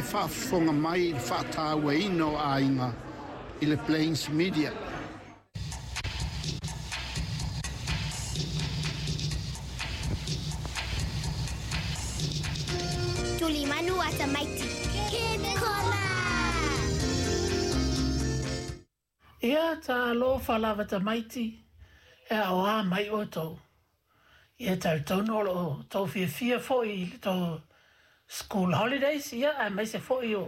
e faafofoga mai i le faatauaina o aiga i le Plains Media. Tulimanu a tamaiti. Kids Corner! Ia, talofa lava tamaiti, e aoā mai outou. Ia, talitonu o lo o tou fiafia foi i le tou school holidays, ia, aemaise foi o,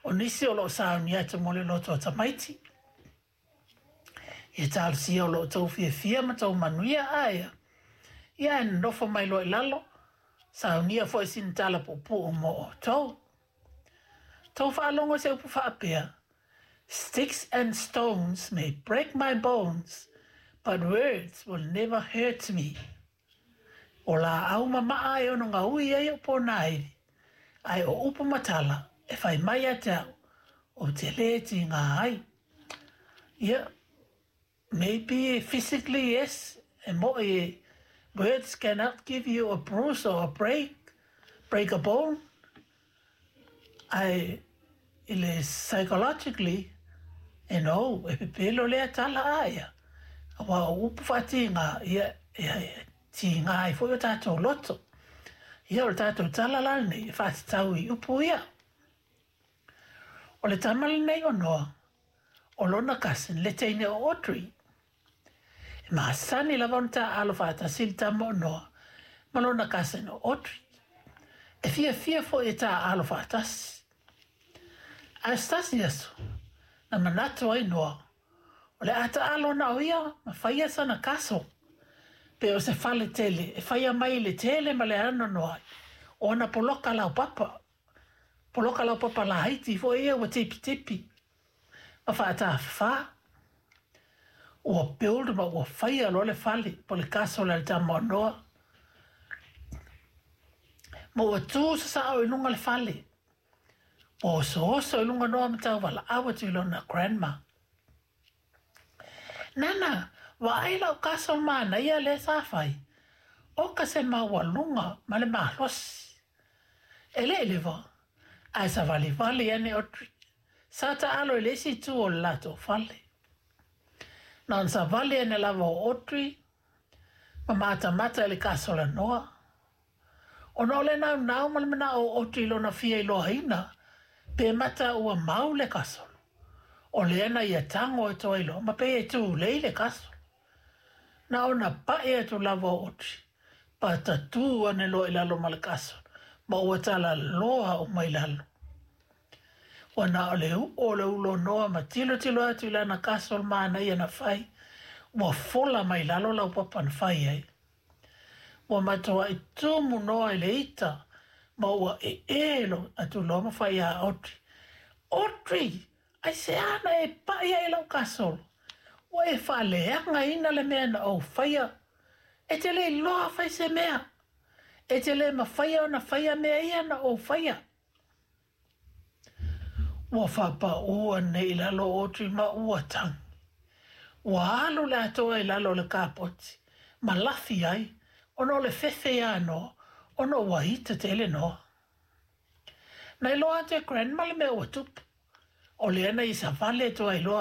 o nisi o lo o sauni atu mo le loto o tamaiti. Ia talosia o lo o tou fiafia ma tou manuia, a ia, ia ae nonofo mai loa i lalo, saunia foi sina tala puupuu mo outou. Tou faalogo i se upu faapea, Sticks and stones may break my bones, but words will never hurt me. O lāʻau mamaʻa e ono gaui ai oʻu pōnāiwi, ae o upu ma tala e fai mai ia te au, ou te lē tīgā ai. Ia, maybe physically yes, e moʻi e, words cannot give you a bruise or a break, break a bone, Ae i le psychologically, e no, e pepelo lea tala a ia, aua o upu faatīgā, ia, ia, e tīgā ai foi o tātou loto. Ia, o le tātou tala la lenei e faatatau i upu ia. O le tama lenei o Noa, o lona cousin le teine o Audrey. E masani lava ona taaalo faatasi le tama o Noa ma lona cousin o Audrey. E fiafia foi e taaalo faatasi. Ae se tasi aso, na manatu ai Noa, o le a taaalo na o ia ma faia sana castle, pe o se fale tele e faia mai i le tele ma le anoanoai o ana poloka laupapa. Poloka laupapa laiti foi ia ua tipitipi ma faatafafā. Ua build ma ua faia loa le fale po o le castle a le tama o Noa. Ma ua tu sasao i luga le fale. Ua osooso i luga Noa ma tauvalaau atu i lona grandma. Nana, vaai lau castle manaia lea sa fai. Oka se maualuga ma le malosi. E le i leva, ae savalivali ane Audrey. Sa taalo i le isi itu o le latou fale. Na ona savali ane lava o Audrey ma matamata i le castle a Noa. Ona o le naunau ma le manao o Audrey i lona fia iloaina pe mata ua mau le castle, o lea na ia tago atu ai loa ma pei e tulei le castle. Na ona paʻi atu lava o Audrey, patatū ane loa i lalo ma le castle, ma ua talaloa uma i lalo. Ua na o le uʻo o le ulo noa ma tilotilo atu i lana castle manaia na fai, ua fola mai lalo laupapa na fai ai. Ua matuai tumu Noa i le ita ma ua ee lo atu loa ma fai iā Audrey, Audrey, aisea na e paʻi ai i lau castle? Ua e faaleagaina le mea na ou faia. E te le iloa fai se mea. E te le mafaia ona faia mea ia na ou faia. Ua faapaū ane i lalo o Audrey ma ua tagi. Ua alu le atoa i lalo o le kapoti ma lafi ai ona o le fefe iā Noa ona ua ita tele Noa. Na iloa atu e Grandma le mea ua tupu. O lea na ia savali atu ai loa.